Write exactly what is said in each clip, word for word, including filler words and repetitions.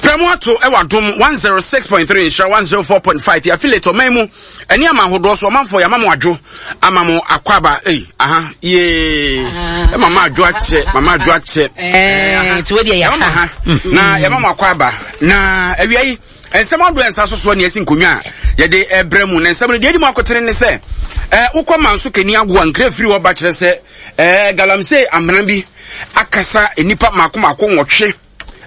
Prɛmo ato ɛwɔ Adom one oh six point three, Nhyira one oh four point five, yɛ affiliate ɔman mu ɛne ama ahodoɔ so. Ɔmanfoɔ, yɛama mo adwo, ama mo akwaba. Ei, aha yee, ɛma ma adwo akyɛ, mama adwo akyɛ. Eh, nti wo deɛ yɛ yɛma mo ha. Ha na yɛma mo akwaba na awia yi nsɛm adoɔ nsa so soɔ ne yɛsi nkonnwa a yɛde ɛbrɛ mu. Na nsɛm no deɛ ɛdi mu akotene ne sɛ ɛɛ wokɔ Manso Kani Agoa, nkira firi hɔ ba kyerɛ sɛ ɛɛ galamsey amena bi akasa nnipa mako mako nwɔtwe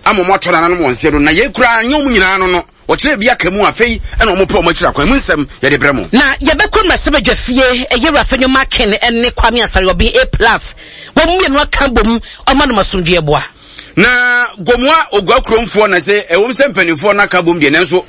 ama ɔmo atɔ nananom wɔn nseɛ do, na yɛn koraa nyɛ ɔmo nyinaa no no wɔkyerɛ bi aka mu. Afei ɛna ɔmo pɛ ɔmo akyiri akwan mu nsɛm yɛde brɛ mo. Na yɛbɛkɔ mmarahyɛbadwa fie, ɛyɛ Afenyo Markin ne Kwame Asare Obeng A Plus, wɔn mmienu aka bom ɔma no asomdwoeɛ boa. Na Gomoa Ogua kuromfoɔ na sɛ ɛwɔm sɛ mpanimfoɔ no aka bom deɛ, nanso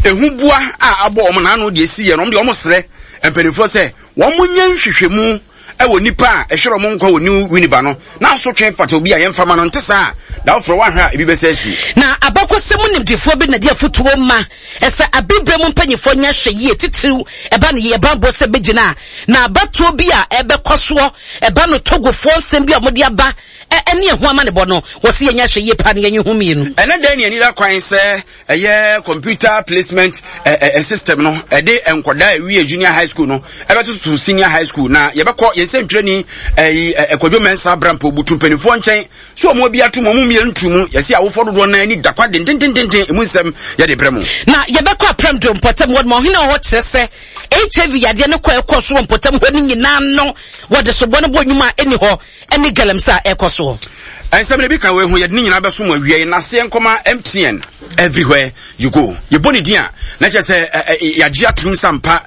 ehu boa a abɔ wɔn n'ano deɛ si yɛ no, wɔn deɛ wɔn srɛ mpanimfoɔ sɛ wɔn nyɛ nhwehwɛmu ɛwɔ nipa a ɛhwɛ wɔn nkwa wɔ New Winneba no, na asotwe fata obi a yɛmfa ma no nte saa da foforɔ wahwɛ a ebi bɛsɛ asi. Na abakɔsɛm mu nimdefoɔ bi na de afotuo ma ɛsɛ abibire mu mpanyinfoɔ nyɛ hwɛ yie, titiriw ɛba no yɛ banbɔ sɛ bɛgyina a na abatoɔ bi a ɛbɛkɔ soɔ ɛba no Togofoɔ nsɛm bi a wɔde aba ɛne ɛho amanebɔ no, wɔsi yɛnyɛ hwɛ yie paa ne yɛnye ho mmienu. Ɛnɛ dɛn ne ani da kwan sɛ ɛyɛ computer placement ɛ ɛ system no ɛde nkɔdaa ɛwie junior high school no ɛbɛtoto senior high school, na yɛbɛkɔ yɛn sɛ ntwerɛni ɛyi ɛkwadwo Mɛnsa Abrampo butu mpanimfoɔ nkyɛn so wɔn bi ato mu, wɔn mmienu tu mu, yɛsi awofoɔ dodoɔ nan ani da kwa dendendenden. Emu nsɛm yɛde brɛ mu. Na yɛbɛkɔ Aprɛm do mpɔtam hɔ ma ɔhene a ɔhɔ kyerɛ sɛ H I V yadeɛ no kɔ ɛkɔ so wɔ mpɔtam hɔ no nyinaa no, wɔde sobɔ no bɔ nnwuma a ɛni hɔ ɛne galamsey a ɛkɔ soɔ. Ɛnsɛm no bi ka wei ho, yɛde ne nyinaa bɛso mu awia yi naseɛ nkɔma M T N, everywhere you go. Yɛbɔ ne din a, na kyerɛ sɛ yɛagye atom sampa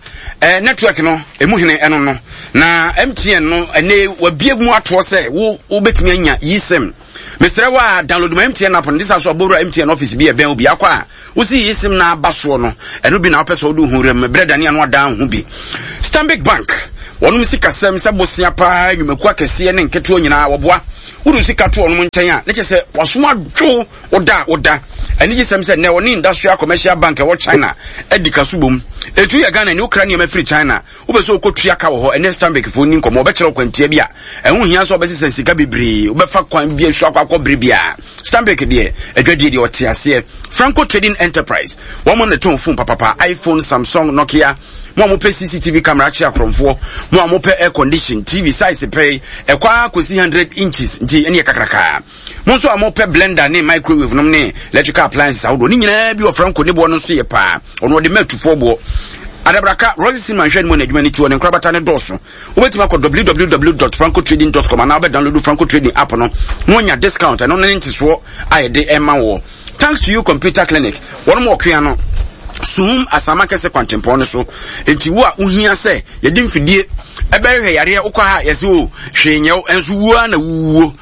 network no ɛmu hene ɛno no. Na M T N no ɛnɛ wabie mu atoɔ sɛ wo wobɛtumi anya eSIM. Mesrɛ wo a, download ma M T N app no de sa so abɔwura M T N office bi ɛbɛn wo bi akɔ a wosi eSIM na aba soɔ no, ɛno bi na wopɛ sɛ wode ho wuram berɛ dane ano adan ho bi. Stanbic Bank, wɔnom sikasɛm sɛ bosea paa, nnwumakuo akɛseɛ ne nketewa nyinaa wɔboa. Wode sika to ɔnom nkyɛn a, ne kyɛ sɛ wasom adwo woda a woda anigye sɛm sɛ nnɛ ɔne Industrial Commercial Bank ɛwɔ China adi ka so bom. Ɛtu yɛ Ghana ni, wokra nneɛma firi China, wopɛ sɛ wokɔtua ka wɔ hɔ, ɛnɛ Stanbic foɔ ni nkɔmmɔ, wɔbɛkyerɛ wo kwantia bi a ɛho hia sɛ wobɛsesɛ sika bebree, wobɛfa kwan bi asu akɔ akɔ bere biara. Stanbic deɛ, adwadie deɛ ɔte aseɛ. Franco Trading Enterprise, wɔn na tɔn phone papapa, iPhone, Samsung, Nokia. Mo a mopɛ C C T V camera akye akorɔmfoɔ, mo a mopɛ air condition, T V size pɛ ɛkɔ akɔsi hundred inches nti ɛne yɛ kakraka. Mo nso a mopɛ blender ne microwave nom ne electrical appliances ahodoɔ ne nyinaa bi wɔ Franco. Ne boɔ no nso yɛ paa, ɔno ɔde ma atufoɔ boɔ. Adabraka Rosie Cinema nhwɛ no mu na adwuma no ti wɔ ne nkorabata ne dɔɔso. Wobɛtumi akɔ w w w dot francotrading dot com anaa wobɛdownload Franco Trading app no na wanya discount. Ɛno ne ntesoɔ a yɛde ɛma wɔ. Thanks To You Computer Clinic, wɔn mu ɔkea no Suhum Asama Kɛse kwantempɔn no so. Nti wo a wohia sɛ yɛde mfidie ɛbɛhwehwɛ yareɛ, wokɔ ha yɛsɛ o hwee nyɛw, ɛnso wuo na wuwuo.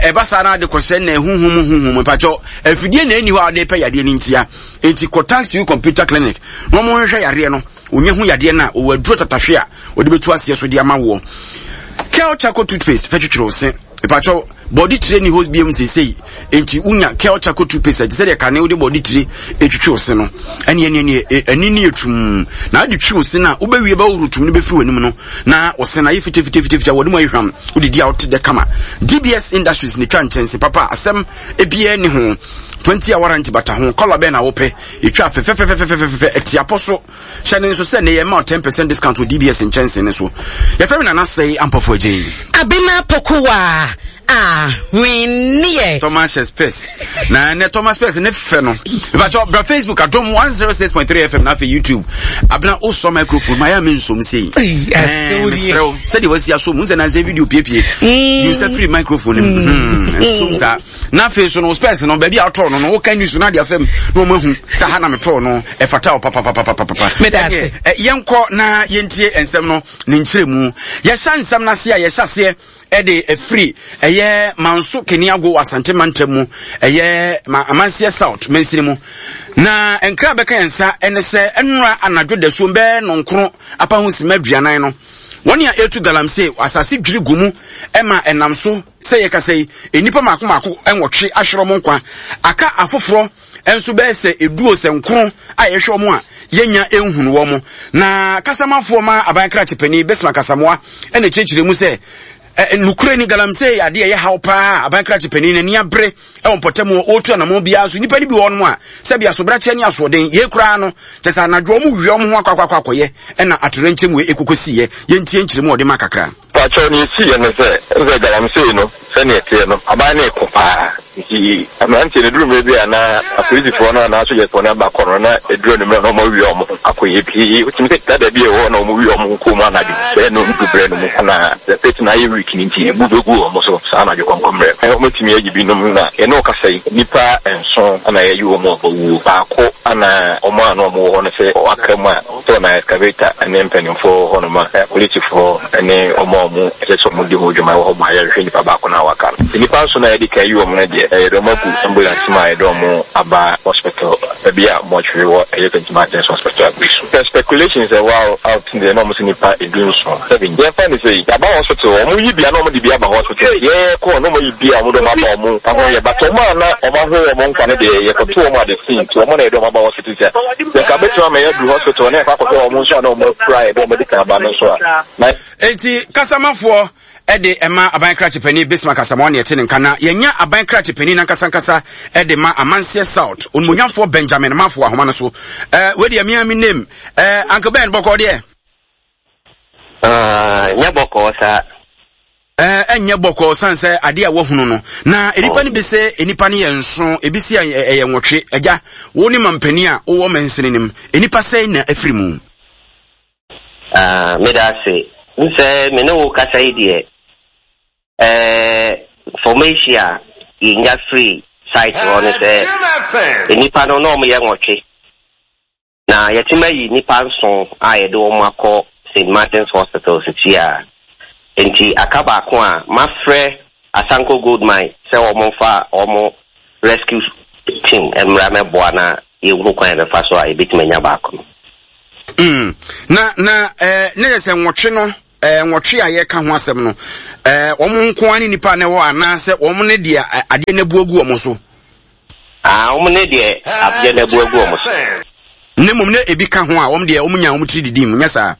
Ɛba saa na ade kɔsɛ na ɛhuhum huhum mpakyɛw, afidie na ɛni hɔ a wɔde pɛ yareɛ no ntia. Nti kɔ Thanks To You Computer Clinic na wɔn hwehwɛ yareɛ no, onye ho yadeɛ no a ɔwɔ aduro tatahwe a wɔde bɛtu aseɛ so de ama woɔ. Kel Charcoal toothpaste fɛ twitwere wo se. Mpakyɛw, bɔde tire ni hɔ biom seesei, nti wonya Kel Charcoal toothpaste a, te sɛ deɛ kane wode bɔde tire etwitwi wo se no, ɛne ɛne ɛne ɛni ne etum na ade twi wo se no a, wobɛwie bɛhohoro tum no bɛfiri w'anim no na wo se no ayɛ fitafitafitafita, wɔde mu ayɛ hwam, wodidi a wote dɛ kama. D B S Industries ne twa nkyɛnse papa a asɛm ebiara ni ho, twenty hour warranty bata ho. Kɔla bɛn na wopɛ? Yɛtwa fɛfɛfɛfɛfɛfɛ ɛtiapɔ so. Hyɛ ne nso sɛ ne yɛ ma ten percent discount wɔ D B S nkyɛnse ne so. Yɛfrɛ me Nana Sɛe Ampɔfo Agyei. Abena Pokuwa ahwenneɛ. Thomas Spes na ne Thomas Spes ne fɛ no. Ìbàtɔ bra Facebook Adom one oh six point three F M na afei YouTube. Abena, wosɔ microphone ma yɛ a mensom sei. Mesrɛ wo sɛdeɛ wasi aso mu sɛ nansɛ video piepie yi sɛ firi microphone no mu nsom saa. Na afei so no, spɛs no, baabi a wotɔɔ no no woka news no ade afam na ɔma hu sɛ ha na metɔɔ no, ɛfata wo papapapapapa. Yɛnkɔ na yɛntie nsɛm no ne nkyerɛmu. Yɛhyɛ nsɛm no ase a, yɛhyɛ aseɛ ɛde ɛfiri ɛyɛ Manso Keniago, Asante mantam mu, ɛyɛ ma Amanseɛ South mansini mu. Na nkra bɛka yɛn nsa ɛne sɛ ɛnora anadwo dasuo bɛɛ nɔnkron apa ho sima aduanan no, wɔn a ɛtu galamsey, asase dwiri gu mu ɛma ɛnam so sɛ yɛkasa yi, nnipa mako mako nwɔtwe ahwerɛ mo nkwa, aka afoforɔ nso bɛyɛ sɛ eduo sɛ nkron a yɛhwɛ wɔn a yɛnya nhunu wɔn. Na kasamafoɔ ma aban krakye panin Bismarck Asamoah ɛna kyerɛkyerɛ mu sɛ Nukure ni galamsey adeɛ ɛyɛ haw paa. Aban krakye panin n'ani abere ɛwɔ mpɔtam hɔ, ɔretu anamɔ biara so. Nnipa no bi wɔ hɔnom a sɛbi asobrakyɛ ne asoɔden yei koraa no kyɛ sɛ anadwo wɔn wia wɔn ho akɔ akɔ akɔyɛ ɛna atoyerɛnkyɛm wei ekoko siiɛ. Yɛntie nkyerɛmu a ɔde ma kakra. Pakyɛw, nea esiiɛ ne sɛ, ɛne sɛ galamsey no, sɛnea ɛteɛ no, aban no reko paa. Nti mmeranteɛ no, ɛduru mmerɛ bi a na apolisifoɔ no anaa asogyafoɔ no aba kɔ no, na ɛduru anwummerɛ na wɔawia wɔn ho akɔyɛ bi. Wotumi sɛ dada bi a ɛwɔ hɔ na wɔwia wɔn ho kɔɔ mu anadwo bɛyɛ nnɔndu berɛ no mu, ɛna the pit no ayɛ weak no nti, ebu bɛgu wɔn so saa anadwo kɔnkɔmmerɛ no. Wɔatumi ayi binom, na yɛne wo kasa yi, nnipa nson na yɛayi wɔn a wɔawuo. Baako na wɔn a na wɔwɔ hɔ no sɛ wɔaka mu a, sɛ na excavator ne mpanimfoɔ wɔ hɔnom a, apolisifoɔ ne wɔn a wɔn ɛsɛ sɛ wɔdi ho dwuma wɔ hɔ ma yɛhwehwɛ nipa baako no a waka no. Nnipa nson a yɛde kan yi wɔn no deɛ, yɛde wɔn agu ambulance mu a yɛde wɔn aba hospital, baabi a mortuary wɔ, ɛyɛ Saint Martin's Hospital Aguisu. The speculations ɛwɔ out deɛ, na wɔn sɛ nipa edu nson, seven. Yɛmfa ne sɛ yɛaba hospital, wɔn yi bi a na wɔn de bi aba hospital. Yɛkɔ na wɔn yi bi a wɔn de wɔn aba, wɔn ho yɛ, but wɔn a na wɔn ahwɛ wɔn nkwa no deɛ, yɛkɔto wɔn at the scene, nti wɔn na yɛde wɔn aba hospital. Sɛ yɛka bɛtumi ama yɛaduru hospital na yɛkɔ akɔhwɛ wɔn nso a na wɔn afura a yɛde wɔn de kan aba no nso a na. Enti kasamafoɔ ɛde ɛma aban krakye panin Bismarck Asamoah ne ɛte ne nka, na yɛnya aban krakye panin nankasa nkasa ɛde ma Amanseɛ South, onimonyamfoɔ Benjamin Mafo ahoma no so. ɛɛ wei deɛ mea mi name ɛɛ Uncle Ben, bɔkɔɔ deɛ? Nyɛ bɔkɔɔ saa. Ɛɛ ɛnyɛ bɔkɔɔ san sɛ adeɛ a wahunu no na nnipa no bi sɛ nnipa no yɛ nson, ebi si ɛyɛ nwɔtwe. Agya, wo ne mampanin a wowɔ mansini nim, nnipa sɛn na afiri mu? Ah, meda ase. Nsɛ me ne wo kasa yi deɛ, ɛɛ information a yɛnya firi site hɔ no sɛ nnipa no na wɔyɛ nwɔtwe. Na yɛtumi ayi nnipa nson a yɛde wɔn akɔ Saint Martin's Hospital sisi a. Nti aka baako a mafrɛ Asanko Gold Mine sɛ wɔn mfa wɔn rescue team mmra mɛboa na yɛnhu kwan a yɛbɛfa so a yɛbɛtumi anya baako no. Mm. Na na ɛɛ ne yɛ sɛ nwɔtwe no, ɛɛ nwɔtwe a yɛka ho asɛm no, ɛɛ wɔn nko ara ne nipa na ɛwɔ anaasɛ wɔn ne deɛ adeɛ no abu agu wɔn so? Ah, wɔn ne deɛ adeɛ no abu agu wɔn so. Ne mmom na ebi ka ho a wɔn deɛ wɔn nya wɔn tiri didi mu, nyɛ saa?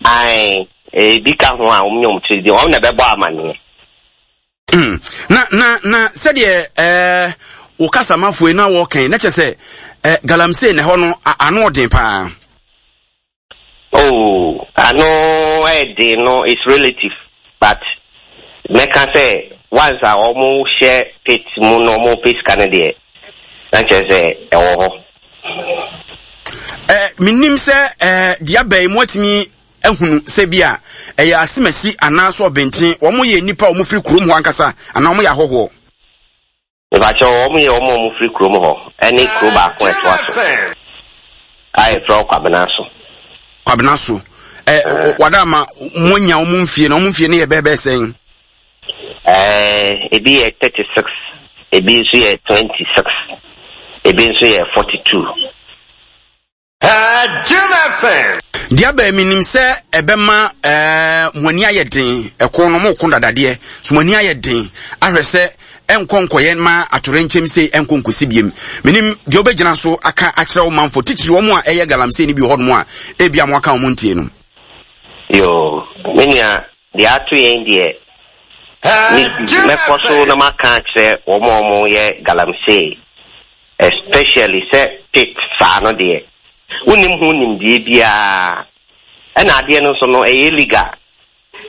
Ae, ebi ka ho a wɔn nya wɔn tiri didi, wɔn na ɛbɛbɔ amaneɛ. Mm. Na na na sɛdeɛ ɛɛ wo kasamafoɔ yi na wɔkɛn na kyerɛ sɛ ɛɛ galamsey na ɛhɔ no ano ɔden paa. Oh, ano ɛden no is relative, but mɛka sɛ once a wɔn hyɛ pit mu na wɔn pɛ sika no deɛ, na kyerɛ sɛ ɛwɔ hɔ. Ɛɛ menim sɛ ɛɛ deɛ abɛn yi mu atumi ahunu sɛ bi a ɛyɛ asemasi anaasɛ ɔbɛnten, wɔn yɛ nnipa a wɔn firi kurom hɔ ankasa anaa wɔn yɛ ahɔhoɔ? Mepakyɛw, wɔn yɛ wɔn a wɔfiri kurom hɔ ne kuro baako a ɛtoa so a yɛfrɛ hɔ Kwabena so. Kwabena so. Ɛ wada ama mo anya wɔn mfie na wɔn mfie no yɛ bɛɛ bɛɛ sɛn? Ɛɛ ebi yɛ thirty six, ebi nso yɛ twenty six, ebi nso yɛ forty two. Deɛ abɛn, menim sɛ ɛbɛma ɛɛ mo ani ayɛ den. Ɛko no mo ko dadadeɛ so, mo ani ayɛ den ahwɛ sɛ ɛnkɔ nkɔyɛ ma atɔrɛnkyɛm sei ɛnkɔ nkɔsi biem. Menim deɛ wobɛgyina so aka akyerɛ wo manfo, titiri wɔn a ɛyɛ galamsey no bi wɔ hɔnom a ebi a mo aka wɔn ntie no. Yoo, me nua, deɛ ato yɛn deɛ, mɛkɔ so na maka akyerɛ wɔn a wɔyɛ galamsey, especially sɛ pit saa no deɛ, wonim ho nimdeɛ biara, ɛna adeɛ no nso no ɛyɛ illegal.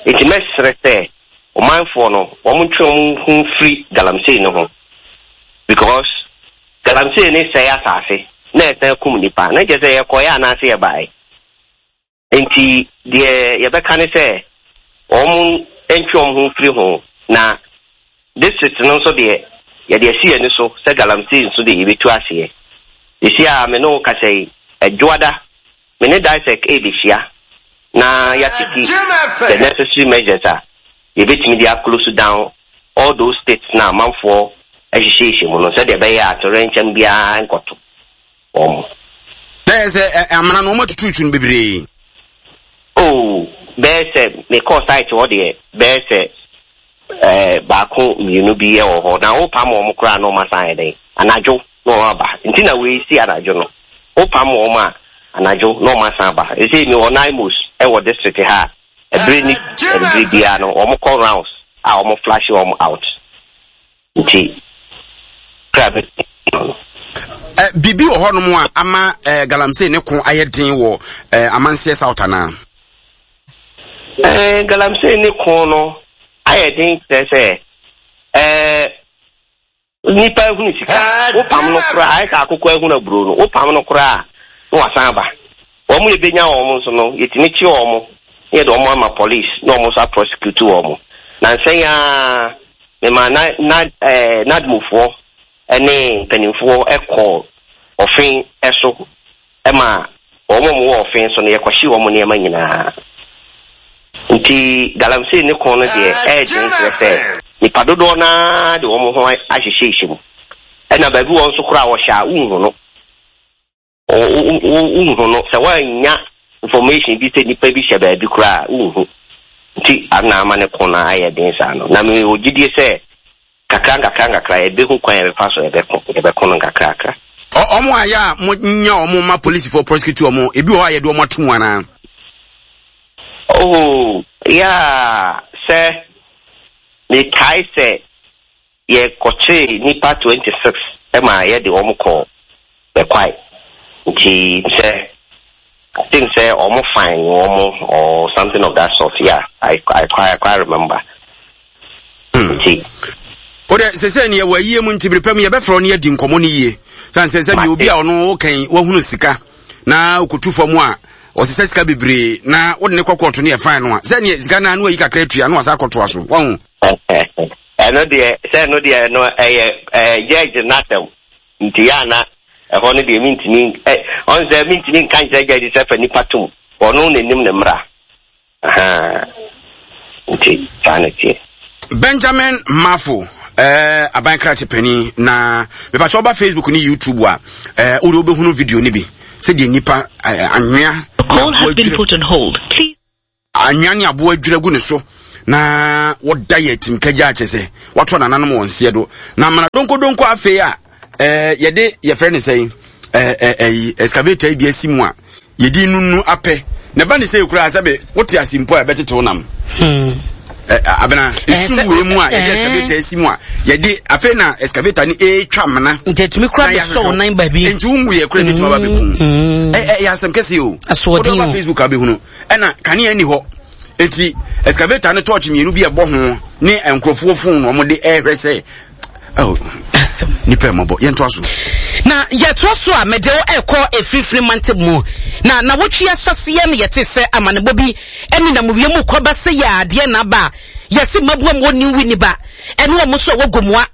Nti mɛsrɛ sɛ ɔmanfoɔ no wɔn ntwe wɔn ho mfiri galamsey no ho, because galamsey ne sɛe asase na ɛsan kum nipa, na kyerɛ sɛ yɛkɔeɛ anaasɛ yɛbaeɛ. Nti deɛ yɛbɛka ne sɛ wɔn ntwe wɔn ho mfiri ho. Na district no nso deɛ, yɛde asi yɛn ani so sɛ galamsey nso deɛ, yɛbɛtu aseɛ. Esi a me ne wo kasa yi, Adwoada, me ne DISEC ɛrebɛhyia na yɛatake the necessary measures a yɛbɛtumi de aclose down all those pits na amanfoɔ ahyehyɛhyɛ mu no, sɛdeɛ ɛbɛyɛ a torɛnkyɛm biara nkɔto wɔn. Na yɛ sɛ amena no wɔn atututu no bebree? Oh, bɛyɛ sɛ mekɔɔ site hɔ deɛ, bɛyɛ sɛ ɛɛ baako mmienu bi wɔ hɔ, na wopam wɔn koraa na wɔn asan ayɛ dɛn, anadwo na wɔn aba. Nti na wei si anadwo no, wopam wɔn a, anadwo na wɔn asan aba. Ese mi wɔ NAIMOS wɔ district ha. Ɛbere ne ɛbere biara no, wɔn kɔ rounds a wɔn flush wɔn out. Nti kra bɛ no. Eh, biribi wɔ hɔnom a ama eh, galamsey ne ko ayɛ den wɔ eh, Amanseɛ South anaa? Eh, galamsey ne ko no ayɛ den kyerɛ sɛ eh, nipa ehunu sika, wopam no koraa, ayɛ sɛ akokɔ ehunu aburo no, wopam no koraa na wasan aba. Wɔn yɛbɛnya wɔn nso no, yɛtumi kye wɔn na yɛde wɔn ama police na wɔn nso aprosecute wɔn. Na nsɛn a mema na na ɛɛ NADMOfoɔ ne mpanimfoɔ kɔ ɔfen so ma wɔn a wɔwɔ ɔfen so no, yɛkɔhye wɔn nneɛma nyinaa. Nti galamsey ne ko no deɛ, ɛyɛ den kyerɛ sɛ nipa dodoɔ naa de wɔn ho ahyehyɛhyɛ mu. Ɛna baabi wɔn nso koraa wɔhyɛ a, wonhu no. Wonhu no sɛ woannya information bi sɛ nipa bi hyɛ baabi koraa, wonhu. Nti ana ama ne ko no ayɛ den saa no. Na mewɔ gyidie sɛ kakra nkakra nkakra yɛbɛhu kwan yɛbɛfa so yɛbɛko yɛbɛko no nkakrakra. Ɔmo a yɛ a mo nya ɔmo ma polisifoɔ prosecute ɔmo, ebi wɔ hɔ a yɛde ɔmo ato mu anaa? Oh, yeah, sɛ mekae sɛ yɛkɔkyee nipa twenty six ma yɛde wɔn kɔ Bɛkwae. Nti sɛ I think sɛ ɔmo fine wɔn or something of that sort, yeah, I I quite, I quite remember. Nti. O de sese ne yɛwɔ ayie mu, nti bere pɛ mu yɛbɛfrɛ wo ne yɛadi nkɔmmɔ no yie. Sane sɛ sɛ deɛ obi a ɔno wokan wahunu sika na okotu fam a ɔsesa sika bebree na wode ne kɔ kɔɔto no yɛ fine no a, sɛ neɛ sika no a na wayi kakra atua na wasa akɔtoa so, wahu. Ɛno deɛ, sɛ ɛno deɛ no ɛyɛ ɛyɛ judge n'asɛm, nti yɛ ana ɛhɔ no deɛ mintumi ɛ ɔn sɛ mintumi nka nkyerɛ judge sɛ fa nipa tom, ɔno n'anim ne mmra. Nti saa na teɛ. Benjamin Mafo, eh, aban krakye panin, na mepakyɛ woba Facebook ne YouTube a, eh, wode wobɛhunu video no bi sɛdeɛ nnipa eh, anwea anwea ne aboa adwira gu ne so na wɔda yɛ atimka gya akyɛ sɛ wɔatɔ nananom wɔn nseɛ do na amana donkodonko. Afei a eh, yɛde yɛfrɛ ne sɛn, eh, eh, eh, excavator yi bi asi mu a yɛdi nunu apɛ na ɛba ne sɛ ekura sɛbe wote ase mpo a ɛbɛtetew nam. hmm. Abena esum wei mu a yɛde excavator asi mu a yɛde afei na excavator no etwa mena. Nti etumi kura bɛ sɔw nan baabi. Nti wo yɛ kura ebetumi aba bɛkum. Ɛ ɛ yɛ asɛm kɛse o. Asoɔden o. Wode Facebook abɛhunu, ɛna kanea ni hɔ, eti excavator no torch mmienu bi ɛbɔ ho ne nkurɔfoɔ phone na wɔde ɛrehwɛ sɛ, oh, nipa mmɔbɔ. Yɛntoa so. Na yɛtoa so a, mede wo ɛkɔ efirifiri mantam mu na na wotwi ahyɛseɛ no, yɛte sɛ amanebɔ bi ɛne nam wiem kɔba sɛ yɛ adeɛ na aba a yɛse mmaboa mu wɔ New Winneba ɛne wɔn nso a wɔ Gomoa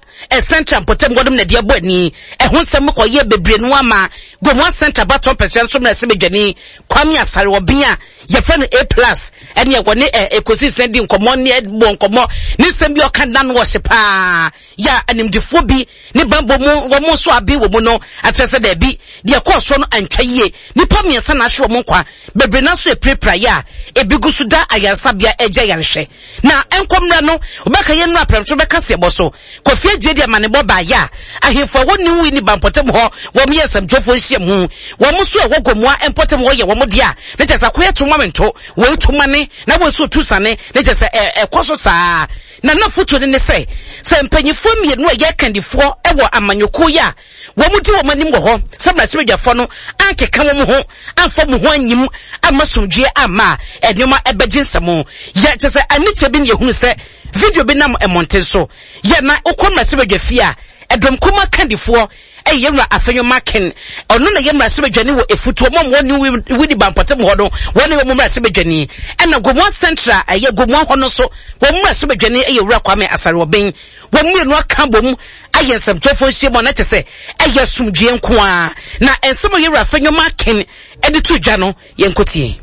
Central mpɔtam wɔnom na deɛ bɔ ani. Ɛho nsɛm kɔyɛ bebree no ama Gomoa Central batɔ mpɛsɛ nso mmerɛ sɛ badwani Kwame Asare ɔben a yɛfrɛ no A Plus ɛne ɛwɔ ne ɛkɔsi sɛn di nkɔmmɔ ne ɛbɔ nkɔmmɔ ne nsɛm bi ɔka nna no ɔhye paa yɛ a animdefoɔ bi ne bambɔ mu wɔn nso aben wɔ mu no akyerɛ sɛ daabi, deɛ ɛkɔɔ soɔ no antwa yie. Nnipa mmiɛnsa na ahwe wɔn nkwa, bebree naa nso apirapira yɛ a ebi gu so da ayaresabea ɛgye ayarehwɛ. Na nkɔmmra no wɔbɛka yɛn nnura prɛmto bɛka sɛ ɛbɔ so Kofi Agye de amanebɔ baayɛ a ahemfo a ɛwɔ New Winneba mpɔtam hɔ wɔn yɛ nsɛmtwerɛfoɔ nhyiamu. Wɔn nso a ɛwɔ Gomoa mpɔtam hɔ yɛ wɔn deɛ a ne kyɛ sɛ akoyɛ to ma mento wei to ma ne na wei nso tu sane ne kyɛ sɛ ɛkɔ so saa. Na n'afotuo no ne sɛ, sɛ mpanyinfoɔ mmienu a ɛyɛ akandifoɔ wɔ amanyɔkuo yi a wɔn di wɔn anim wɔ hɔ sɛ mmarahyɛbadwafoɔ no ankeka wɔn ho amfa wɔn ho anyim amma asomdwoeɛ amma a, nneɛma ɛbɛgye nsam. Yɛ kyɛ sɛ anikyɛ bi na yɛhunu sɛ video bi nam mmɔnten so yɛ na wokɔ mmarahyɛbadwa fie a, ɛdɔm kumaa kandifoɔ ɛyɛ yɛn wura Afenyo Markin, ɔno na yɛ mmarahyɛbadwani wɔ Efutuo mɔm wɔ New Winneba mpɔtam hɔ no, wɔn na yɛ wɔn mmarahyɛbadwani. Ɛna Gomoa Central a ɛyɛ Gomoa hɔ no nso, wɔn mmarahyɛbadwani yɛ Owura Kwame Asare Obeng. Wɔn mmienu aka abom ayɛ nsɛmtwerɛfoɔ nhyiamu a na kyerɛ sɛ ɛyɛ asomdwoeɛ nko ara. Na nsɛm a yɛn wura Afenyo Markin de to dwa no, yɛnkɔtie.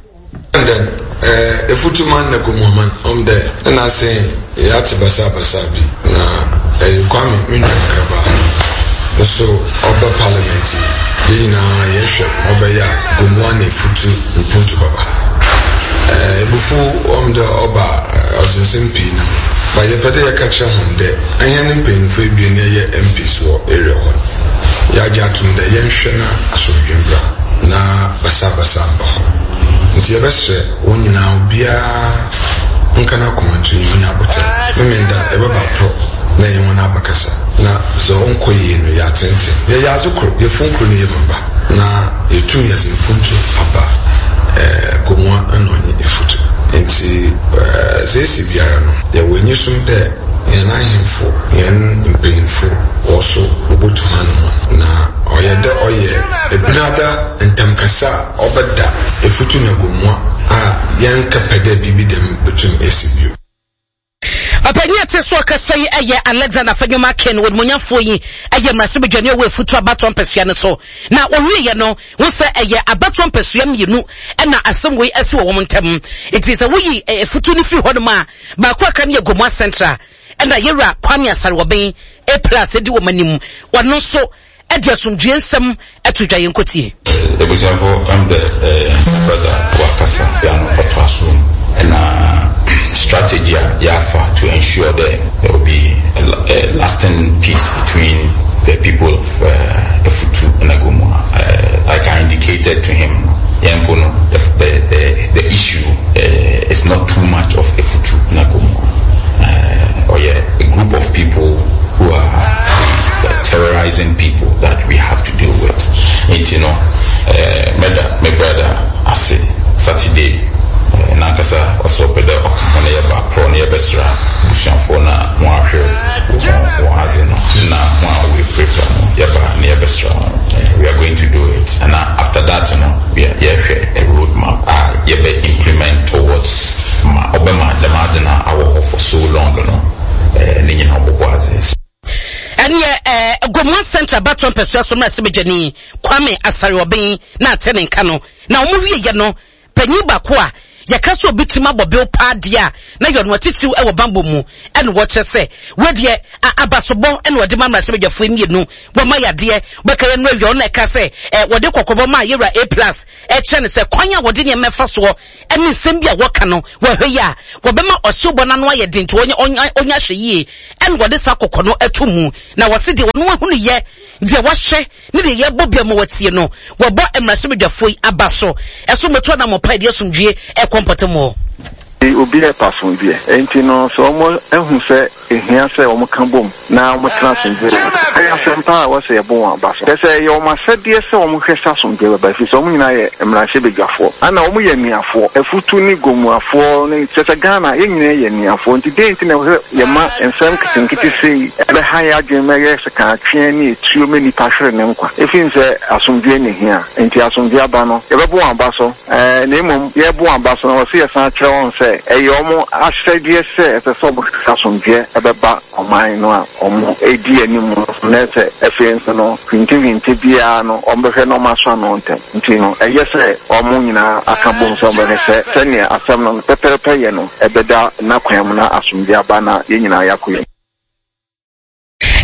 And then eh, Efutuman na Gomoaman, ɔm dɛ ne n'ase yɛatse basabasa bi na ɛyɛ Kwame me nua kakraba no so ɔba parliament yi, yɛn nyinaa yɛhwɛ ma ɔbɛyɛ a Gomoa na Efutu mpontu bɛba. Eh, ebufuw ɔm dɛ ɔba a ɔdze nsɛm pii nam, but yɛpɛ dɛ yɛka kyerɛ hɔn dɛ hɛn mpanyimfo ebien yɛyɛ M Ps wɔ area hɔ no, yɛagye ato mu dɛ yɛnhwɛ na asomdwee mbra na basabasa mba hɔ. Nti yɛbɛsrɛ wɔn nyinaa, obiara nka n'akoma nto yi onya abotɛ. Memenda yɛbɛba porɔ na yɛn wɔn abɛkasa, na sɛ ɔnkɔ yie no yɛatenten. Yɛyɛ adze koro, yɛfun koro ne yɛ mu ba, na yɛtum yɛdze mpuntu aba ɛɛ Gomoa ɛna ɔnye Efutu. Nti ɛɛ sɛ esi biara no, yɛwɔ enyisom dɛ yɛn ahemfo, yɛn mpanyinfo wɔ so wɔbɛtu hanom, na ɔyɛ dɛ ɔyɛ ebinada ntamkasa a ɔbɛda Efutu na Gomoa a yɛnkɛpɛ dɛ biribi dɛm bɛtum esi bio. Ɔpanyin a ɛte so ɔkasa yi yɛ Alexander Afenyo-Markin. Wɔdumonyamfoɔ yi yɛ mmarahyɛbadwani a ɔwɔ Efutu abatoɔ mpasua no so. Na wɔwieɛ no, ho sɛ ɛyɛ abatoɔ mpasua mmienu na asɛm wei asi wɔ wɔn ntam. Nti sɛ woyi Efutu no firi hɔnom a, baako a aka no yɛ Gomoa Central. Ɛna Yɛwura Kwame Asare-Obeng, A plus, di wɔn anim. Ɔno nso de asomdwie nsɛm to dwa. Yɛnkɔtie. Ebusuafo, ɛm dɛ ɛɛ brother wakasa ya no ɔtoa so, ɛna strategy a yɛafa to ensure that there will be a, a lasting peace between the people of uh, Efutu and Gomoa. Uh, like I indicated to him, yɛn mpo no, the, the, the, the issue uh, is not too much of Efutu and Gomoa. Uh, or yeah, a group of people who are terrorizing people that we have to deal with. Nti no, uh, meda me brother ase. Saturday, uh, nankasa ɔsɛ ɔpɛ dɛ ɔka ho na yɛba korɔ na yɛbɛsra busuafoɔ na ho ahwɛ wɔn wɔn adze no na ho a wɔapirapira no, yɛba na yɛbɛsra wɔn. Uh, we are going to do it, and uh, after that no, we are yɛhwɛ a road map a yɛbɛ implement towards ma ɔbɛma dɛm adze no awɔ hɔ for so long no, uh, ne nyinaa ɔbɔbɔ adze. Ɛneɛ ɛɛ Gomoa Central abatoɔ mpasua so mmarahyɛbadwani Kwame Asare-Obeng na ate ne nka no. Na wɔn wieɛ no, panyin baako a yɛka sɛ obi tumi abɔ bew paa deɛ a na yɛ ɔno atitiriw wɔ bambɔ mu, ɛna wɔkyerɛ sɛ wɔdeɛ abasobɔ ɛna wɔde ma mmarahyɛbadwafoɔ mmienu wɔma yadeɛ bɛka yɛn no awia. Ɔno na ɛka sɛ ɛ wɔde kɔkɔbɔ maa yɛwura A plus, ɛkyerɛ no sɛ kwan a wɔde nneɛma ɛfa soɔ ɛne nsɛm bi a wɔka no, wɔhwɛ yi a wɔbɛma ɔhyewbɔ n'ano ayɛ den, nti ɔnyɛ ɔnyɛ ahwɛ yie. Ɛna wɔde saa kɔkɔ no ato mu, na wɔsi deɛ wɔn ahunu yɛ, deɛ wɔahwɛ ne deɛ yɛbɔ bia ma wɔtie no, wɔbɔ mmarahyɛbadwafoɔ yi aba so ɛso mmɛto anammɔpa yɛde asomdwie ɛkɔ mpɔtam hɔ. Obi ɛpa asomdwie, nti no sɛ wɔn ehu sɛ ehia sɛ wɔn ka bom na wɔn tena asomdwie, ɛyɛ asɛmpa a wɔsɛ yɛbɔ wɔn aba so. Kyɛ sɛ ɛyɛ wɔn asɛdeɛ sɛ wɔn hwɛ sɛ asomdwie bɛba, ɛfiri sɛ wɔn nyinaa yɛ mmarahyɛbadwafoɔ, ana wɔn yɛ nnuafoɔ, Efutu ne Gomuafoɔ ne kyɛ sɛ Ghana yɛn nyinaa yɛ nnuafoɔ. Nti deɛ nti na ɛwɔ sɛ yɛma nsɛm nketenkete sei ɛbɛha yɛ adwene ma ɛyɛ sekaatweɛ ne etuo ma nipa hwere ne nkwa, ɛfiri sɛ asomdwie ne hia. Nti asomdwie aba no, yɛbɛbɔ wɔn aba so, ɛɛ na mmom yɛbɔ wɔn aba so no, wɔsɛ yɛsan kyerɛ wɔn sɛ ɛyɛ wɔn ahyɛdeɛ sɛ ɛsɛ sɛ wɔn asomdwie ɛbɛba ɔman no a wɔn edi anim no, na sɛ afei nso no hwintehwinte biara no, wɔn bɛhwɛ na wɔn aso ano ntɛm. Nti no ɛyɛ sɛ wɔn nyinaa aka bom sɛ wɔn bɛhwɛ sɛ sɛnea asɛm no pɛpɛɛpɛ yɛ no ɛbɛda n'akwan mu na asomdwie aba na yɛn nyinaa yɛakɔ yɛn.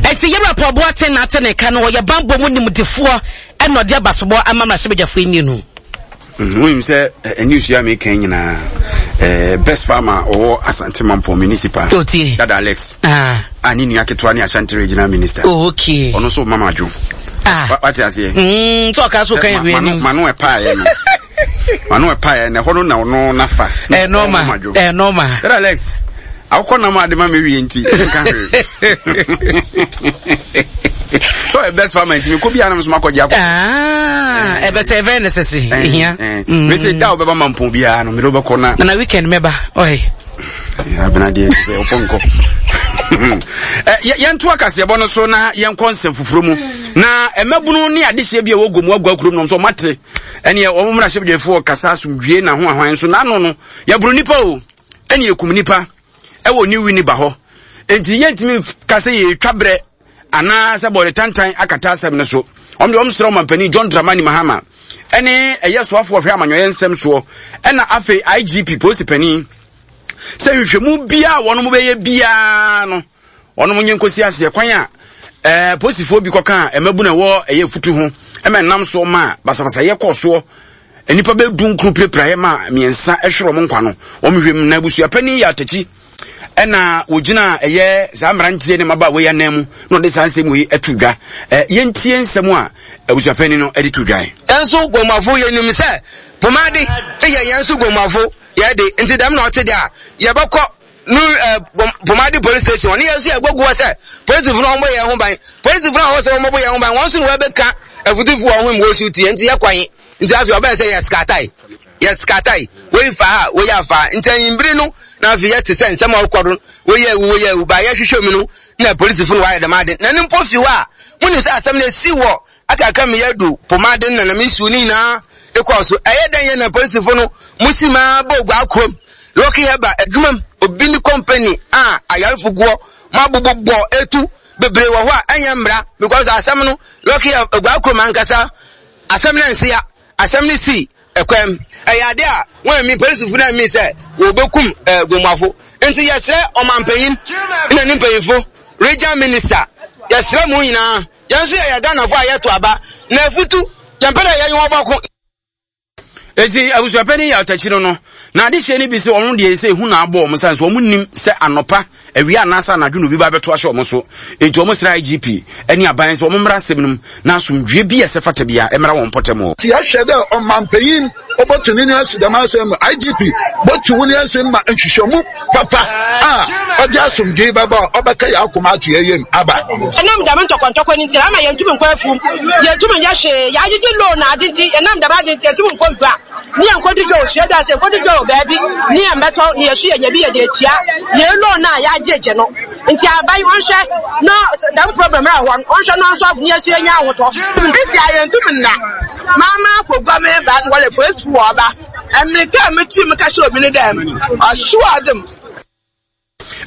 Ɛnti yɛwura Paul Boateng na ate ne nka no, ɔyɛ bambɔ mu nimdefoɔ, ɛna ɔde abasobɔ ama mmarahyɛbadwafoɔ yi mmienu. Wonim sɛ news yi a meka nyinaa, eh, best farmer ɔwɔ Asante Mampɔn municipal, Dada Alex, ah. A ne nua ketewa ne Ashanti Regional Minister. Oh, okay. Ɔno nso mama adwo. Ah. Wate aseɛ? Mm, sɛ ɔka so kan wie news. Mano ɛpaeɛ no, mano ɛpaeɛ no, ɛhɔ no na ɔno nafa. Ɛnɔma, ɛnɔma. Dada Alex, awokɔ nam ade ma mewie nti nka hwee so ɔyɛ best farmer nti mekɔ biara na mesoma kɔgye akɔ. Ɛbɛtɛ ɛbɛyɛ necessary, ɛhia. Mese da wobɛba ma mpɔn biara no, mede wobɛkɔ na na weekend mɛba ɔyɛ. Abenadeɛ sɛ wopɔ nkɔ. Yɛnto akaseɛbɔ no so na yɛnkɔ nsɛm foforɔ mu, na mmabunu ne adehyeɛ bi a ɛwɔ Gomu agua kurom nom sɛ ɔmate ɛneɛ wɔn mmarahyɛbadwafoɔ kasa asomdwie na ho ahwan nso n'ano no yɛboro nipa o, ɛne yɛkum nipa ɛwɔ New Winneba hɔ, nti yɛntumi ka sɛ yɛtwa berɛ anaasɛ bɔde tantan akata asɛm no so. Wɔn de wɔn srɛ ɔmampanin John Dramani Mahama ɛne ɛyɛ soafoɔ hwɛ amanyɔyɛ nsɛm soɔ, ɛna afei I G P, polisi panin, sɛ nhwehwɛmu biara wɔn bɛyɛ biara no, wɔn nye nkosi aseɛ kwan a ɛɛ polisifoɔ bi kɔka a ɛmabu na ɛwɔ ɛyɛ futu ho ɛma ɛnam soɔ ma basabasayɛ kɔɔ soɔ, nnipa bɛdu nkuru pirapiraeɛ ma mmiɛnsa ɛhwerɛ wɔn nkwa no. Wɔn hwɛ mu na abusuapanin yɛ atakyi ɛna wɔgyina ɛyɛ saa mmeranteɛ ne mmabaawa yi anan mu na ɔde saa nsɛm yi ato dwa. ɛ yɛntie nsɛm a abusuapanin no de to dwa. Nso Gomafo, yɛnim sɛ Pomade yɛ yɛn nso Gomuafo yɛ de, nti dɛm na ɔte de a, yɛbɛkɔ no eh, Pomade police station hɔ ne yɛn nso yɛbɛgu hɔ sɛ polisifo no wɔmmɔ yɛn ho ban. Polisifo no a wɔwɔ sɛ wɔmmɔbɔ yɛn ho ban, wɔn nso na wɔbɛka afutufo wɔn ho mu wɔsiw tie, nti yɛkɔ he? Nti afei ɔbɛyɛ sɛ yɛ skatae, yɛ skatae, wei fa ha, wei afa ha. Nti anyimbere no na afei yɛte sɛ nsɛm a ɔkɔ do, wei yɛ awu, wei yɛ awu, ba yɛhwehwɛ mu no na polisifo no wɔayɛ dɛm ade. Na ne mpo fi hɔ a, munim sɛ asɛm no esi wɔ akakra me yɛadu pomade no na na me nsuo no nyinaa kɔɔ so. Ɛyɛ dɛn yɛ na polisifo no mo si maa bɔ oguaa kurom, Lucky Herbal adwuma mu, obi ne company a ayarefo guɔ, mo abobɔ etu bebree wɔ hɔ a ɛnyɛ mmara because asɛm no Lucky oguaa kurom ankasa asɛm no nsia, asɛm no si ɛkwam. Ɛyɛ ade a wɔn ammi polisifo no ammi sɛ wɔbɛkum eh, Gomuafo. Nti yɛsrɛ ɔmanpanyin na ne mpanyinfo, region minister, yɛsrɛ mo nyinaa. Yɛn nso yɛyɛ Ghanafo a yɛto aba, na afutu, yɛmpɛ dɛ yɛnye wɔn bɔko. Enti abusuapanin yɛ ɔtakyi no no, na adehyeɛ no bi sɛ wɔn deɛ sɛ ehu na abɔ wɔn sane so wɔn nim sɛ anɔpa, awia anaasɛ anadwo na obi ba abɛto ahyɛ wɔn so. Enti wɔn srɛ I G P ne aban sɛ wɔn mmra asɛm no mu na asomdwie bi a ɛsɛ fata biara mmra wɔn mpɔtam hɔ. Nti yɛhwɛ dɛ ɔmampanyin obotu ne nan ase dɛm asɛm mu, I G P botu wo nan ase ma nhwehwɛmu papa a ɔdze asomdwee bɛba a ɔbɛka yɛn akoma ato yɛn yam aba. Ɛnam dɛm ntɔkɔntɔkɔ no nti ama yɛntumi nkɔ afuom, yɛntumi nyɛ hwee, yɛagyegye loan na ade nti, ɛnam dɛm ade nti yɛntumi nkɔ gua ne yɛnkɔdi dwa wɔ suadwa ase, yɛnkɔdi dwa wɔ baabi ne yɛmmɛtɔ ne yɛso yɛnya bi yɛde atua yɛn loan no a yɛagyegye no. Nti aban ɔnhwɛ na dɛm problem a ɛwɔ no, ɔnhwɛ na ɔnsolve ne yɛso yɛnya ahotɔ. Sisi a yɛntumi nna maama akɔgua me ba wɔle polisi wɔ ɔba mmirika a metu mu ka hyɛ obi ne dɛm ɔhyew ɔdem.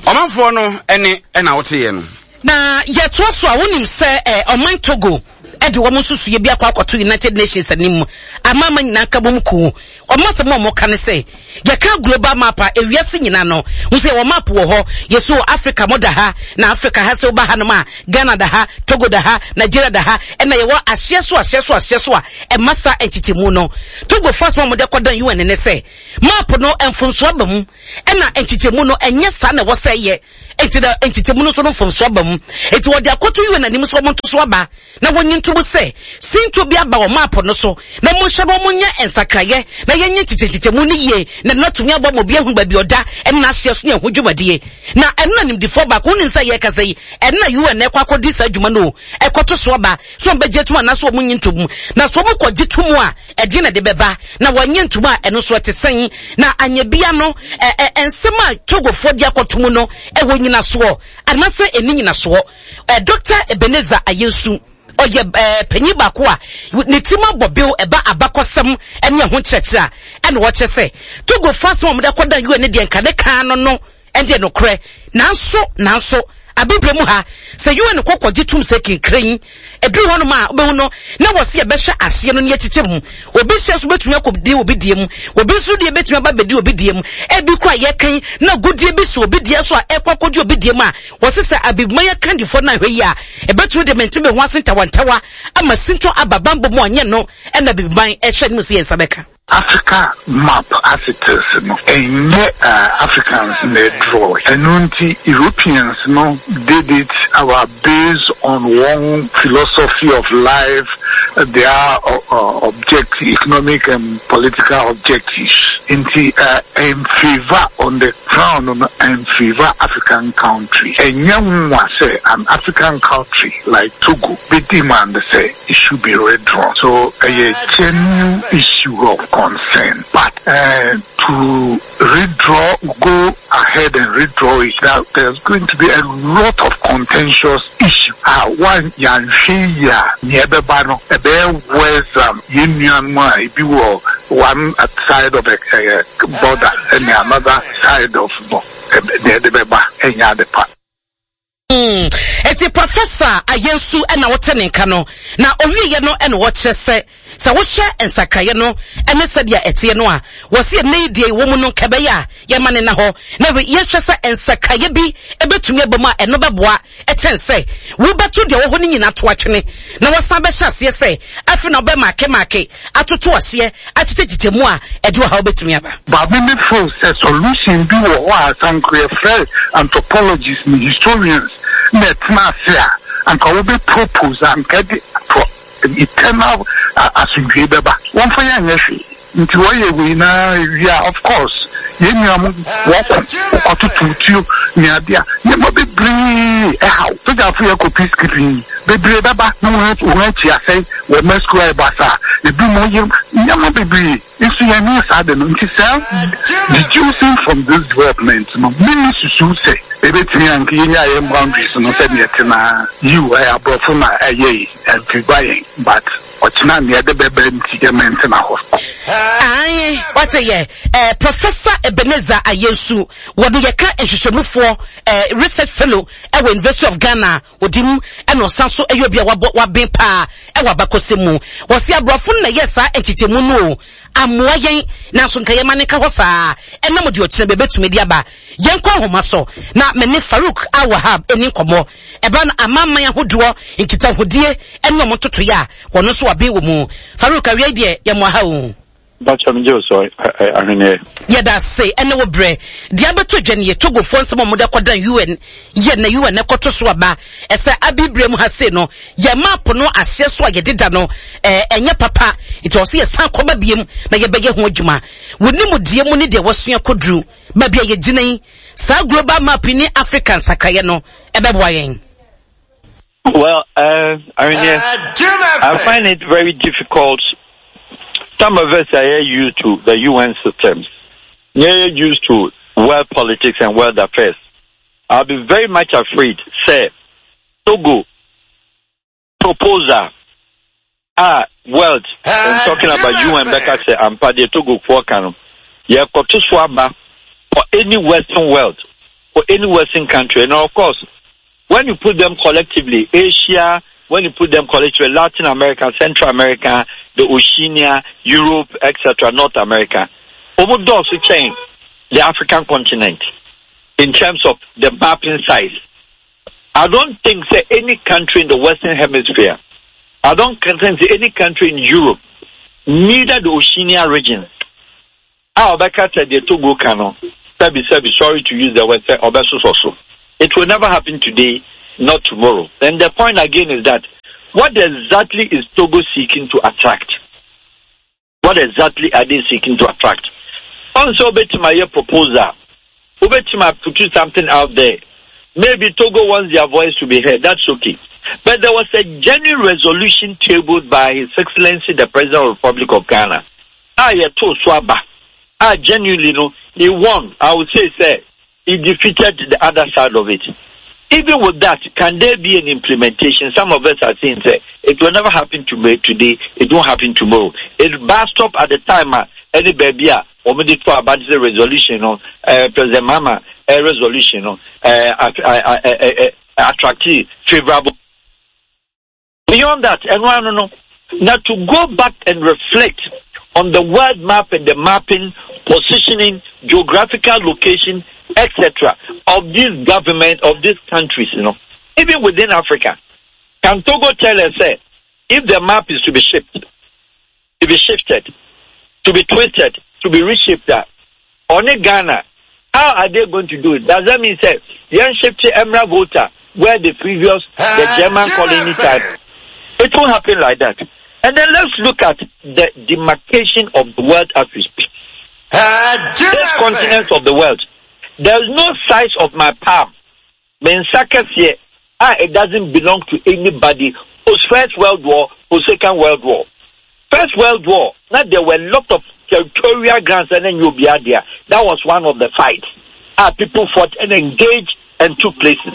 Ɔmanfoɔ no ɛne ɛna woteeɛ no. Na yɛtoa so a, wonim sɛ eh, ɔman Togo ɛde wɔn nsusuiɛ bi akɔ akɔto United Nations anim, amama nyinaa ka bom kuo. Wɔn asɛm a wɔka ne sɛ yɛka global map a, ewiase nyinaa no ho sɛ yɛwɔ map wɔ hɔ. Yɛsi wɔ Africa mo da ha, na Africa ha sɛ woba hanom a, Ghana da ha, Togo da ha, Nigeria da ha, ɛna yɛwɔ ahyeɛ so ahyeɛ so ahyeɛ so a ɛma saa nkyekyɛmu no. Togo fo asɛm a wɔde akɔdan U N ne sɛ map no mfomsoɔ aba mu, ɛna nkyekyɛmu no ɛnyɛ saa na ɛwɔ sɛ ɛyɛ, nti na nkyekyɛmu no nso no mfomsoɔ aba mu. Nti wɔde akɔto U N anim sɛ wɔn nto so aba na wɔnyi ntom sɛ sinto bi aba wɔ map no so, na monhwɛ na wɔnyɛ nsakraeɛ na yɛnyɛ nkyekyɛnkyekyɛmu no yie na ɛno atumi abɔ ma obi ahu baabi ɔda ɛne n'ahyeɛ so ne ɛho dwumadie. Na ɛno na nimdifoɔ baako, wonim sɛ yɛrekasa yi, ɛno na U N ɛkɔ akɔdi saa adwuma no o, ɛkɔto so aba sɛ wɔn bɛgye atum anaasɛ wɔn nyi ntom, na sɛ wɔn kɔgye tom a, ɛdeɛ na ɛde bɛba, na wɔnyɛ ntom a, ɛno nso ɛte sɛn? Na anyɛ bia no, ɛ ɛ nsɛm a Togofoɔ de akɔto mu no, ɛwɔ nyinasoɔ anaasɛ ɛni nyinasoɔ? ɛ Doctor Ebenezer Ayensu, ɔyɛ ɛɛ panyin baako a ne ti ma bɔ bill ɛba abakɔsɛm ɛne ɛho nkyerɛkyerɛ a, ɛna wɔkyerɛ sɛ Togofoɔ asɛm a wɔde akɔdan U N ne deɛ nka ne kan no no ɛdeɛ nokorɛ, nanso nanso abibire mu ha sɛ U N kɔkɔgye tum sɛ kinkran ɛduru hɔnom a, wobɛhu no na wɔsi yɛbɛhyɛ aseɛ no ne yɛkyekyɛ mu. Obi hyɛ so bɛtumi akɔdi obi deɛ mu, obi nso deɛ bɛtumi aba bɛdi obi deɛ mu. Ebi kora yɛkan na godie bi so obi deɛ so a ɛkɔ akɔdi obi deɛ mu a, wɔsi sɛ abibima yɛ kandifoɔ no ahwɛ yi a, ɛbɛtumi de mente me ho ase ntawantawa ama sintɔ aba bambɔ mu anyɛ no. Ɛna abibiman ɛhyɛ anim sɛ yɛn nsa bɛka Africa map as it is no, ɛnyɛ uh, Africans na draw. Ɛno nti Europeans no did it our based on one philosophy of life, their uh, uh, objective, economic and political objectives. Nti uh, in favor on the ground no, in favor African country. Ɛnyɛ nwa sɛ an African country like Togo be demand sɛ it should be redrawn. So a genuine issue of concern. But uh, to redraw, go ahead and redraw it, that there's going to be a lot of contentious issue. Ah, one yanhwɛ yi a, nea ɛbɛba no ɛbɛyɛ worse than yɛn nuanom a ebi wɔ one side of a uh, border ɛne another side of no, nea ɛde bɛba ɛnyɛ ade pa. Mm. Eti Professor Ayensu ɛna wɔte ne nka no, na owieɛ no ɛna wɔkyerɛ sɛ sɛ wohyɛ nsakraeɛ no ɛne sɛdeɛ ɛteɛ no a, wɔsi ɛnɛ yi deɛ wɔ mu no nkɛbɛyɛ a yɛma ne na hɔ na yɛhwɛ sɛ nsakraeɛ bi ɛbɛtumi aba mu a, ɛno bɛboa ɛkyɛn sɛ wobɛto deɛ wɔ hɔ no nyinaa to atwene na wɔsan bɛhyɛ aseɛ sɛ afei na wobɛmaake maake atoto aseɛ akyekyɛkyekyɛ mu a, ɛde ɔhaw bɛtumi aba. But me me feel sɛ solution bi wɔ hɔ a sanko yɛfrɛ anthropologists ne historians na ɛtena ase a, anka wɔbɛ propose a anka de for eternal asomdwee bɛba. Wɔmfa yɛn nyɛ hwee. Nti wɔyɛ wei na wie a, of course, yɛn nua mo wɔkɔ kɔtoto tuo ne ade a nneɛma bebree ɛhaw. Sogyafo yɛ kɔ peacekeeping yi, bebree bɛba na wɔn wɔn akyi asɛe wɔ Mexico ayɛ basaa. Ebi mo yɛ nneɛma bebree nso yɛn ne saa de no. Nti saa deducing from this development no, mimi susu sɛ ebetumi anka yɛnya yɛn boundaries no sɛdeɛ ɛte na yiw ɛyɛ aborɔfo na ɛyɛ yi ɛmfiba yɛn, but ɔkyena nea ɛde bɛbɛ nti yɛmɛntena hɔ. Ae, wate yɛ eh, Professor Ebenezer Ayensu, wɔde yɛka nhwehwɛmufoɔ eh, research fellow ɛwɔ University of Ghana, ɔdi mu ɛna ɔsan so ɛyɛ obi a wabɔ waben paa ɛwɔ abakɔsɛm mu. Wɔsi aborɔfo no na ɛyɛ saa nkyekyɛmu no o, amoa yɛn, nanso nka yɛma ne nka hɔ saa, ɛnam deɛ ɔkyena bɛbɛtumi de aba. Yɛnkɔ ahoma so na me ne Farouk Al-Wahab ɛni nkɔmmɔ. Ɛba no amanaman ahodoɔ nkitahodie ɛne ɔmo ntotoeɛ a wɔn nso waben wɔ mu. Farouk, awia yi deɛ yɛmmoa ha o. Bakyɛ me gye wo so ahweneɛ. Yɛda ase ɛne wo berɛ. Deɛ abɛtɔ dwa nie, Togofoɔ nsɛm a wɔde akɔdan U N yɛ na U N ɛkɔto so aba. Ɛsɛ abibire mu ha sei no, yɛ map no aseɛ so a yɛde da no, ɛɛ ɛnyɛ papa. Nti ɔsɛ yɛsan kɔba biem na yɛbɛyɛ ho adwuma. Wo nimdeɛ mu ne deɛ wasua kɔduru baabi a yɛgyina yi, saa global map yi ne Africa nsakraeɛ no ɛbɛboa yɛn? Well, uh, I mean, yeah, I find it very difficult. Some of us are used to the U N systems. They're used to world politics and world affairs. I'll be very much afraid, sɛ Togo proposal a world, I'm talking about U N, bɛka sɛ ampa deɛ Togo foɔ ka no, yɛkɔto so aba for any Western world, for any Western country. And of course, when you put them collectively, Asia, when you put them collectively, Latin America, Central America, the Oceania, Europe, et cetera, North America, almost also change the African continent in terms of the mapping size. I don't think sɛ any country in the Western Hemisphere, I don't think sɛ any country in Europe, neither the Oceania region, a ɔbɛka sɛ deɛ Togo ka no, sɛbi sɛbi, sorry to use the word, sɛ ɔbɛsosɔ so. It will never happen today, not tomorrow. And the point again is that what exactly is Togo seeking to attract? What exactly are they seeking to attract? Ɔn sɛ wobɛtumi ayɛ proposal, wobɛtumi put something out there. Maybe Togo wants their voice to be heard. That's okay. But there was a genuine resolution tabled by His Excellency the President of the Republic of Ghana. Ah, yɛtoo so aba. Ah, genuinely no, he won. I would say, sɛ, he defeated the other side of it. Even with that, can there be an implementation? Some of us are saying sɛ it will never happen to me today, it won't happen tomorrow. It bus stop at the time uh, any baby a wɔn de to aba de resolution no, uh, President Mahama uh, resolution no uh, uh, uh, uh, uh, attract favorable. Beyond that, and no, no. Now to go back and reflect on the world map and the mapping, positioning, geographical location, et cetera, of this government, of these countries, you know, even within Africa. Can Togo tell us, sɛ, if the map is to be shifted, to be shifted, to be twisted, to be reshaped, that only Ghana, how are they going to do it? Does that mean sɛ, yɛn shift mmra Volta, where the previous, the German colony type? It won't happen like that. And then let's look at the demarcation of the world as we speak. This continent of the world, there is no size of my palm. Me nsa kɛseɛ a it doesn't belong to anybody. Post First World War, post Second World War. First World War, now there were a lot of territorial grants and then you'll be out there. That was one of the fights. Ah, people fought and engaged and took places.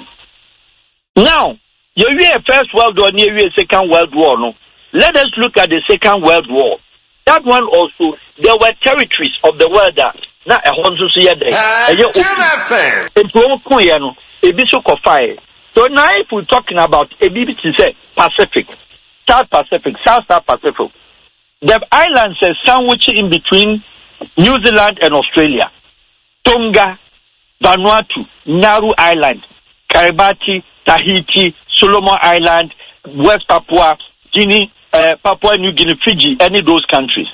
Now, you hear First World War, you hear Second World War, no? Let us look at the Second World War. That one also, there were territories of the world that na ɛhɔ nso so yɛ dɛ ɛyɛ open, nti wɔn ko yɛ no ebi so kɔfae. So now if we talking about ebi bi te sɛ Pacific, South Pacific, South South Pacific, the islands are sandwiched in between New Zealand and Australia: Tonga, Vanuatu, Nauru Island, Kiribati, Tahiti, Solomon Island, West Papua Guinea, uh, Papua New Guinea, Fiji, any of those countries.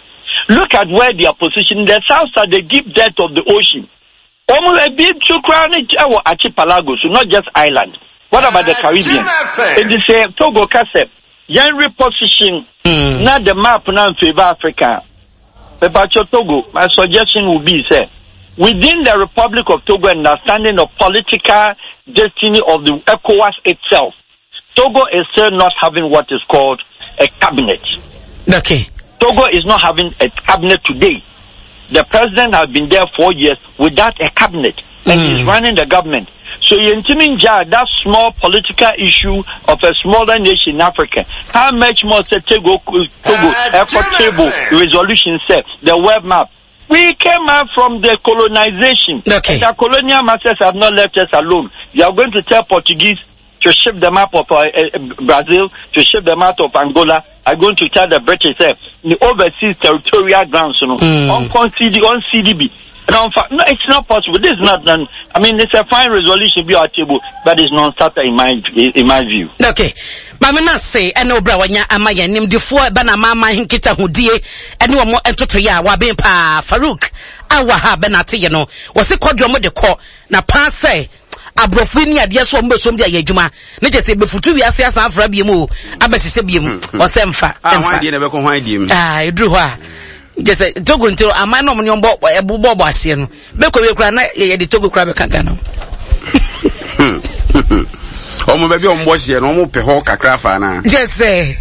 Look at where they are positioned. The south side, the deep depth of the ocean. Wɔn ebi nso koraa ne ɛwɔ archipelago so, not just island. What about the Caribbean? Eti sɛ Togo ka sɛ yɛn reposition na the map na in favour Africa. Mepacho Togo, my suggestion would be sɛ within the Republic of Togo understanding the political destiny of the ECOWAS itself, Togo is still not having what is called a cabinet. Okay. Togo is not having a cabinet today. The president has been there four years without a cabinet, and mm. he's running the government. So yɛntumi ngyaa that small political issue of a smaller nation in Africa. How much more sɛ Togo, Togo ɛkɔ table resolution sɛ the world map. We came out from the colonization. Okay. And the colonial masters have not left us alone. You are going to tell Portuguese to ship them out of uh, uh, Brazil, to ship them out of Angola. Are going to tell the British uh, the overseas territorial grounds, you know, mm. on CD, on CDB. No, no, it's not possible. This is not. An, I mean, it's a fine resolution be our table, but it's non-starter in my in my view. Okay. Maame no ase ɛne wo berɛ a wanya ama yɛn nimdefoɔ ɛba na amanaman nkitahodie ɛne wɔn ntotoeɛ a waben paa Farouk Awaha bɛnate yɛ no wɔse kɔ deɛ wɔn de kɔ na paa sɛ aborɔfo yi ni adeɛ so wɔn bɛsom de ayɛ adwuma ne kyɛ sɛ bɛfutu wiase asan afra biem o abɛhyehyɛ biem hmm, hmm. ɔsɛ mfa ah, mfa deɛ na ɛbɛkɔ hwan deɛ mu ah ɛduru hɔ a kyɛ sɛ Togo nti aman na wɔn ne wɔn bɔ ɛbobɔ bɔ aseɛ no bɛkɔ wie koraa na yɛde Togo koraa bɛka Ghana wɔn baabi a wɔn bɔ hyeɛ no wɔn pɛ hɔ kakra fa na. kyɛ sɛ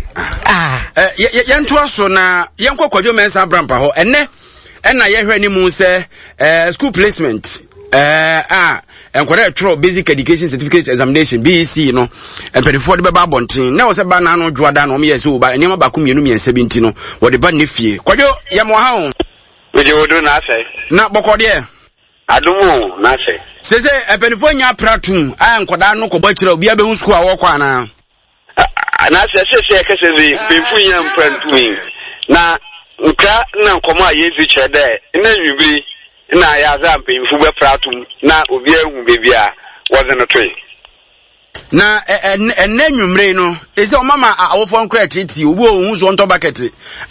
ah. ɛ yɛntoa so na yɛnkɔ Kwadwo Mensah Abrampa hɔ ɛnɛ ɛna yɛhwɛ anim sɛ ɛɛ school placement ɛɛ a nkwadaa ɛtwerɛ basic education certificate examination BEC no mpanimfoɔ de bɛba abɔnten na wɔsɛ ba n'ano dwoada na wɔn yɛ sɛ wɔba nneɛma baako mmienu mmiɛnsa bi nti no wɔde ba ne fie Kwadwo yɛ mo ha o. Megye wo do na asɛ. Na bɔkɔ deɛ. Adom o na asɛ. Sese mpanimfoɔ nya apra tum a nkwadaa no kɔbɔ akyerɛ obiara bɛhu sukuu a wɔkɔ anaa. Anaasɛ sesei yɛkɛsɛ dze, mpanyimfo nnya mmpra nntum yi, na nkra na nkɔmbɔ a yedzi kyerɛ dɛ ndɛ ewimbir yi nna ayɛ adze a mpanyimfo bɛpra ato mu na obiara ehu beebi a wɔdze no toe. Na ɛnnɛ anwummere yi no, ɛsɛ ɔma ma awofoɔ nkora akyirikyiri, obi wɔ ohun so wɔntɔ bucket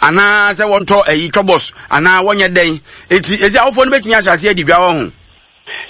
anaa sɛ wɔntɔ ayi twɔbɔs anaa wɔnyɛ dɛn. Eti ɛsɛ awofoɔ no bɛtumi ahyɛ aseɛ adi dwa wɔ ho.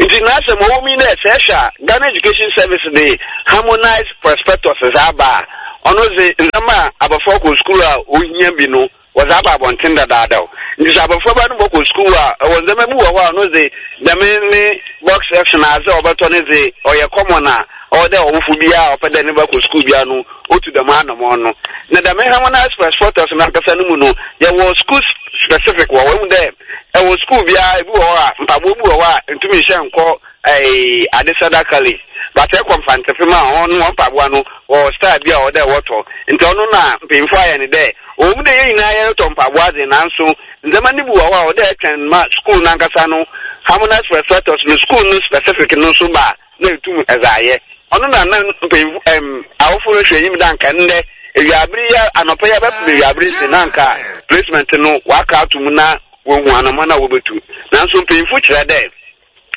Ntsi n'asɛm ɔwɔ mu nye dɛ sɛ ehwɛ a Ghana Education Service de Harmonised Prospectus dze aba a, ɔno dze ndzɛmba a abofra kɔ skuul a ohia bi no wɔdze aba abɔntsen dadaadaw. Ntsi sɛ abofraba no bɔkɔ skuul a, ɔwɔ ndzɛmba bi wɔ hɔ a ɔno dze dɛm ne box section adze a ɔbɔtɔ no dze ɔyɛ common a ɔwɔ dɛ ɔwofo biara a ɔpɛ dɛ ne ba kɔ skuul biara no otu dɛm anamɔn no. Na dɛm Harmonised Prospectus no ankasa no mu no yɛwɔ skuul specific wɔ hɔ. Ehu dɛ Ɛwɔ sukuu biara ebi wɔ hɔ a mpaboa bi wɔ hɔ a ntumi nhyɛ nkɔ ɛɛ Adesada college but ɛkɔ Mfantsipim a hɔn no hɔn mpaboa no wɔwɔ style bi a ɔwɔ dɛ wɔtɔ ntsi ɔno na mpanyimfo ayɛ no dɛ ɔwɔ mu dɛ hɛn nyinaa yɛrotɔ mpaboa dze naaso ndzɛmba no bi wɔ hɔ a ɔwɔ dɛ ɛtwɛn ma skuul no ankasa no harmonized prospectus no skuul no specific no so ba a na etum dze ayɛ. Ɔno na na mpanyimfo ɛm awofo rehwɛ enyim dɛ anka ndɛ ewiaber yi anɔpa yi abɛpem ewiaber yi dze na anka placement no wɔaka ato mu na woehu anamɔn a wobetu. Naaso mpanyimfo kyerɛ dɛ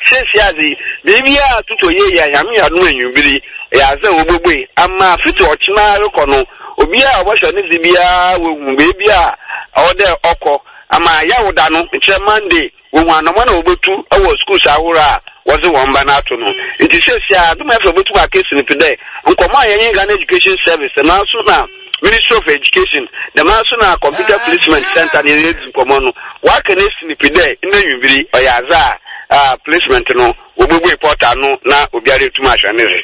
seseiara dze biribiara totɔ yie a Nyame yɛ adom a ewimbir yi ɔyɛ adze a wobobue ama fitsi ɔkyena rokɔ no obiara a ɔbɔhwɛ ne dze biara woehu beebi a ɔwɔ dɛ ɔkɔ ama Yawda no, nkyerɛ Monday, Wohu anamɔn a wobotu wɔ skuuls ahorow a wɔdze hɔn mba no ato no. Ntsi seseiara Adom FM botum aka esi no pi dɛ, nkɔmbɔ a yɛnye Ghana Education Service, dɛmara so na Ministry of Education, dɛmara so na Computer Placement Centre no yɛdzi nkɔmbɔ no, wɔaka no esi no pi dɛ ndɛ ewimbir yi ɔyɛ adze a placement no wobobue portal no na obiara etum ahwɛ ne dze.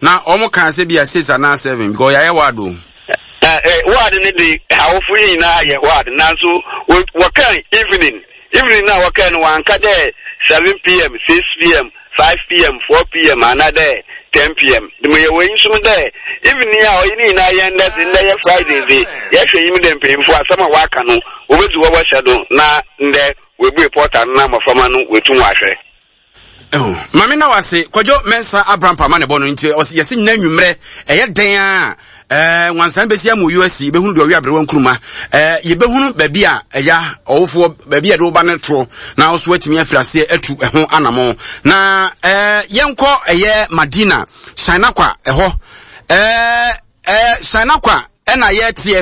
Na wɔn kaa sɛ bia six anaa seven because yɛayɛ ward o. Eh, eh, ward no de awofo yi nyinaa yɛ ward nanso wɔkaa evening evening no a wɔkaa no wɔanka dɛ seven pm six pm five pm four pm anaa dɛ ten pm de mo yɛ wɔ enyi som dɛ evening a ɔyɛ ne nyinaa yɛn ndɛ dze ndɛ yɛ Friday dze yɛhwɛ enyim dɛ mpanyimfo asɛm a wɔaka no wɔbɛdzi hɔ wɔhyɛ do na ndɛ wɔabue portal no na mmɔframma no wɔatum wɔahwɛ. Oh, maame na wase kwadwo mɛnsa abrampa ma ne bɔ no nti ɔsi yɛsi nyina nwummerɛ ɛyɛ dɛn a ɛɛ nwansan bɛsi ama oyi asi yɛbɛhunu deɛ ɔwe aberewa nkuruma ɛɛ yɛbɛhunu baabi a ɛya ɔwofoɔ baabi a yɛde woba no toɔ na ɔso atumi afiri aseɛ atu ɛho anamo na ɛɛ yɛnkɔ ɛyɛ Madina Shinakwa ɛhɔ ɛɛ ɛɛ Shinakwa ɛna yɛteɛ